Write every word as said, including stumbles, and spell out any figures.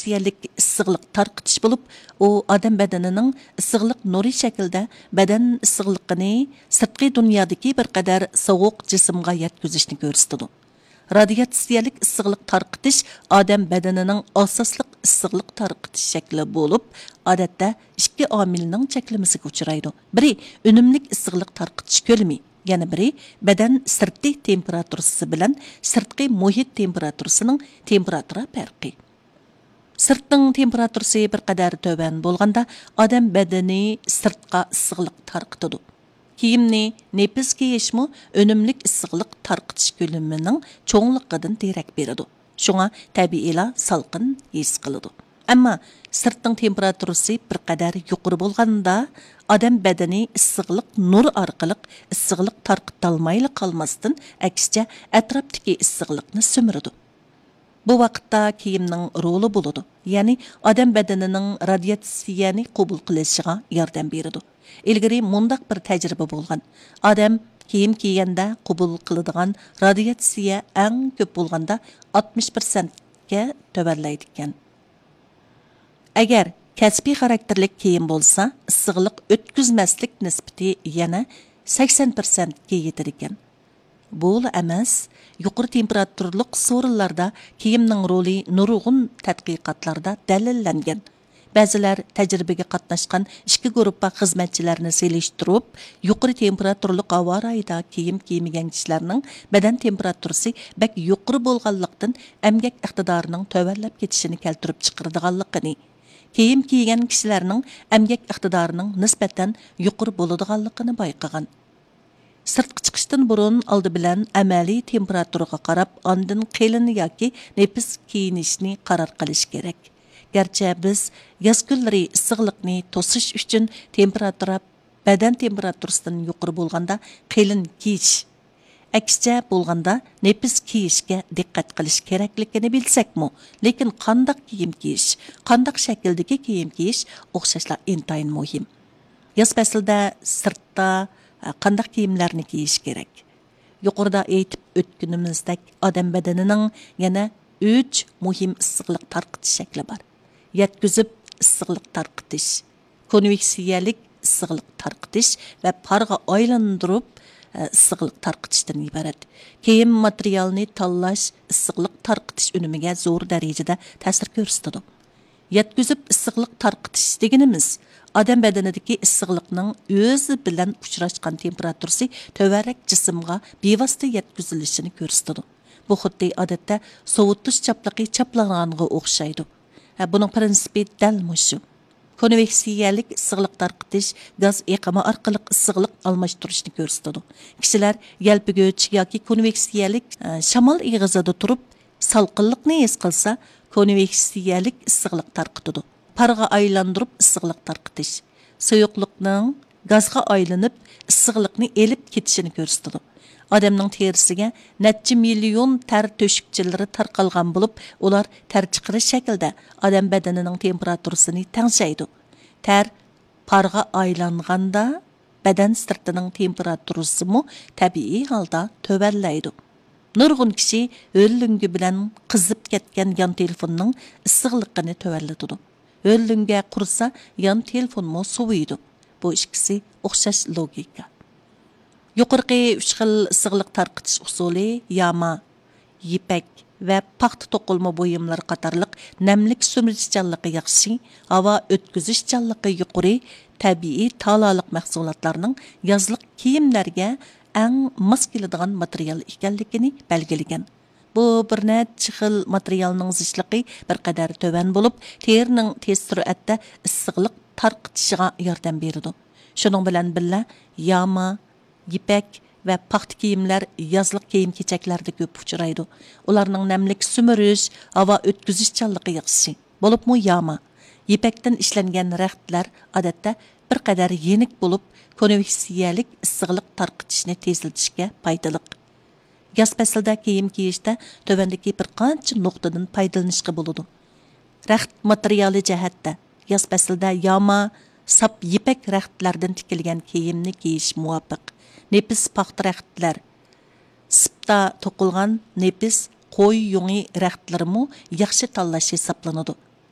رادىياتسىيەلىك ئىسسىقلىق تارقىتىش بولۇپ، ئۇ ئادەم بەدىنىنىڭ ئىسسىقلىق نۇرى شەكلىدە بەدەن ئىسسىقلىقىنى سىرتقى دۇنيادىكى بىر قەدەر سوغۇق جىسىمغا يەتكۈزۈشنى كۆرسىتىدۇ. رادىياتسىيەلىك ئىسسىقلىق تارقىتىش ئادەم بەدىنىنىڭ ئاساسلىق ئىسسىقلىق تارقىتىش شەكلى بولۇپ، ئادەتتە ئىككى ئامىلنىڭ چەكلىمىسىگە ئۇچرايدۇ. بىرى ئۈنۈملۈك ئىسسىقلىق تارقىتىش كۆلىمى، يەنە بىرى بەدەن سىرتى تېمپېراتۇرىسى بىلەن سىرتقى مۇھىت تېمپېراتۇرىسىنىڭ تېمپېراتۇرا پەرقى. سىرتنىڭ تېمپېراتۇرىسى بىر قەدەر تۆۋەن بولغاندا، ئادەم بەدىنى سىرتقا ئىسسىقلىق تارقىتىدۇ. كىيىمنى نېپىز كىيىشمۇ ئۈنۈملۈك ئىسسىقلىق تارقىتىش كۆلىمىنىڭ چوڭلۇقىدىن دېرەك بېرىدۇ. شۇڭا تەبىئىيلا سالقىن ھېس قىلىدۇ. ئەمما سىرتنىڭ تېمپېراتۇرىسى بىر قەدەر يۇقىرى بولغاندا، ئادەم بەدىنى ئىسسىقلىق نۇرى ئارقىلىق ئىسسىقلىق تارقىتالمايلا قالماستىن، ئەكسىچە ئەتراپتىكى ئىسسىقلىقنى سۈمۈرىدۇ. بۇ ۋاقىتتا كىيىمنىڭ رولى بولىدۇ، يەنى ئادەم بەدىنىنىڭ رادىياتسىيەنى قوبۇل قىلىشىغا ياردەم بېرىدۇ. ئىلگىرى مۇنداق بىر تەجرىبە بولغان. ئادەم كىيىم كىيگەندە قوبۇل قىلىدىغان رادىياتسىيە ئەڭ كۆپ بولغاندا ئاتمىش پىرسەنتكە تۆۋەنلەيدىكەن. ئەگەر كەسپىي خاراكتېرلىك كىيىم بولسا، ئىسسىقلىق ئۆتكۈزمەسلىك نىسبىتى يەنە سەكسەن پىرسەنتكە يېتىدىكەن. بۇلا ئەمەس، يۇقىرى تېمپېراتۇرىلىق سورۇنلاردا كىيىمنىڭ رولى نۇرغۇن تەتقىقاتلاردا دەلىللەنگەن. بەزىلەر تەجرىبىگە قاتناشقان ئىككى گۇرۇپپا خىزمەتچىلەرنى سېلىشتۇرۇپ، يۇقىرى تېمپېراتۇرىلىق ھاۋا رايىدا كىيىم كىيمىگەن كىشىلەرنىڭ بەدەن تېمپېراتۇرىسى بەك يۇقىرى بولغانلىقتىن، ئەمگەك ئىقتىدارىنىڭ تۆۋەنلەپ كېتىشىنى كەلتۈرۈپ چىقىرىدىغانلىقىنى، كىيىم كىيگەن كىشىلەرنىڭ ئەمگەك ئىقتىدارىنىڭ نىسبەتەن يۇقىرى بولىدىغانلىقىنى بايقىغان. سىرتقا چىقىشتىن بۇرۇن ئالدى بىلەن ئەمەلىي تېمپېراتۇرىغا قاراپ، ئاندىن قېلىن ياكى نېپىز كىيىنىشنى قارار قىلىش كېرەك. گەرچە بىز ياز كۈنلىرى ئىسسىقلىقنى توسۇش ئۈچۈن تېمپېراتۇرا بەدەن تېمپېراتۇرىسىدىن يۇقىرى بولغاندا قېلىن كىيىش، ئەكسىچە بولغاندا نېپىز كىيىشكە دىققەت قىلىش كېرەكلىكىنى بىلسەكمۇ، لېكىن قانداق كىيىم كىيىش، قانداق شەكىلدىكى كىيىم كىيىش ئوخشاشلا ئىنتايىن مۇھىم. ياز پەسلىدە سىرتتا، ئە، قانداق كىيىملەرنى كىيىش كېرەك؟ يۇقىرىدا ئېيتىپ ئۆتكىنىمىزدەك، ئادەم بەدىنىنىڭ يەنە ئۈچ مۇھىم ئىسسىقلىق تارقىتىش شەكلى بار. يەتكۈزۈپ ئىسسىقلىق تارقىتىش، كونۋېكسىيەلىك ئىسسىقلىق تارقىتىش ۋە پارغا ئايلاندۇرۇپ، ئە، ئىسسىقلىق تارقىتىشتىن ئىبارەت. كىيىم ماتېرىيالىنى تاللاش ئىسسىقلىق تارقىتىش ئۈنۈمىگە زور دەرىجىدە تەسىر كۆرسىتىدۇ. يەتكۈزۈپ ئىسسىقلىق تارقىتىش دېگىنىمىز، ئادەم بەدىنىدىكى ئىسسىقلىقنىڭ ئۆزى بىلەن ئۇچراشقان تېمپېراتۇرىسى تۆۋەنرەك جىسىمغا بىۋاسىتە يەتكۈزۈلۈشىنى كۆرسىتىدۇ. بۇ خۇددى ئادەتتە سوۋۇتۇش چاپلىقى چاپلانغانغا ئوخشايدۇ. ھە، بۇنىڭ پىرىنسىپى دەل مۇشۇ. كونۋېكسىيەلىك ئىسسىقلىق تارقىتىش گاز ئېقىمى ئارقىلىق ئىسسىقلىق ئالماشتۇرۇشنى كۆرسىتىدۇ. كىشىلەر يەلپۈگۈچ ياكى كونۋېكسىيەلىك، ئە، شامال ئېغىزىدا تۇرۇپ، سالقىنلىقنى ھېس قىلسا، كونۋېكسىيەلىك ئىسسىقلىق تارقىتىدۇ. پارغا ئايلاندۇرۇپ ئىسسىقلىق تارقىتىش. سۇيۇقلۇقنىڭ گازغا ئايلىنىپ، ئىسسىقلىقنى ئېلىپ كېتىشىنى كۆرسىتىدۇ. ئادەمنىڭ تېرىسىگە نەچچە مىليون تەر تۆشۈكچىلىرى تارقالغان بولۇپ، ئۇلار تەر چىقىرىش شەكلىدە ئادەم بەدىنىنىڭ تېمپېراتۇرىسىنى تەڭشەيدۇ. تەر پارغا ئايلانغاندا، بەدەن سىرتىنىڭ تېمپېراتۇرىسىمۇ تەبىئىي ھالدا تۆۋەنلەيدۇ. نۇرغۇن كىشى ھۆل لۆڭگە بىلەن قىزىپ كەتكەن يان تېلېفوننىڭ ئىسسىقلىقىنى تۆۋەنلىتىدۇ. ھۆل لۆڭگە قۇرۇسا، يان تېلېفونمۇ سوۋۇيدۇ. بۇ ئىككىسى ئوخشاش لوگىكا. يۇقىرىقى ئۈچ خىل ئىسسىقلىق تارقىتىش ئۇسۇلى ياما، يىپەك ۋە پاختا توقۇلما بۇيۇملىرى قاتارلىق نەملىك سۈمۈرۈشچانلىقى ياخشى، ھاۋا ئۆتكۈزۈشچانلىقى يۇقىرى تەبىئىي تالالىق مەھسۇلاتلارنىڭ يازلىق كىيىملەرگە ئەڭ ماس كېلىدىغان ماتېرىيال ئىكەنلىكىنى بەلگىلىگەن. بۇ بىر نەچچە خىل ماتېرىيالنىڭ زىچلىقى بىر قەدەر تۆۋەن بولۇپ، تېرىنىڭ تېز سۈرئەتتە ئىسسىقلىق تارقىتىشىغا ياردەم بېرىدۇ. شۇنىڭ بىلەن بىللە، ياما، يىپەك ۋە پاختا كىيىملەر يازلىق كىيىم-كېچەكلەردە كۆپ ئۇچرايدۇ. ئۇلارنىڭ نەملىك سۈمۈرۈش، ھاۋا ئۆتكۈزۈشچانلىقى ياخشى. بولۇپمۇ ياما، يىپەكتىن ئىشلەنگەن رەختلەر ئادەتتە بىر قەدەر يېنىك بولۇپ، كونۋېكسىيەلىك ئىسسىقلىق تارقىتىشنى تېزلىتىشكە پايدىلىق. ياز پەسلىدە كىيىم كىيىشتە تۆۋەندىكى بىر قانچە نۇقتىدىن پايدىلىنىشقا بولىدۇ. رەخت ماتېرىيالى جەھەتتە، ياز پەسلىدە ياما، ساپ يىپەك رەختلەردىن تىكىلگەن كىيىمنى كىيىش مۇۋاپىق. نېپىز پاختا رەختلەر، سىپتا توقۇلغان نېپىز قوي يۇڭى رەختلىرىمۇ ياخشى تاللاش ھېسابلىنىدۇ.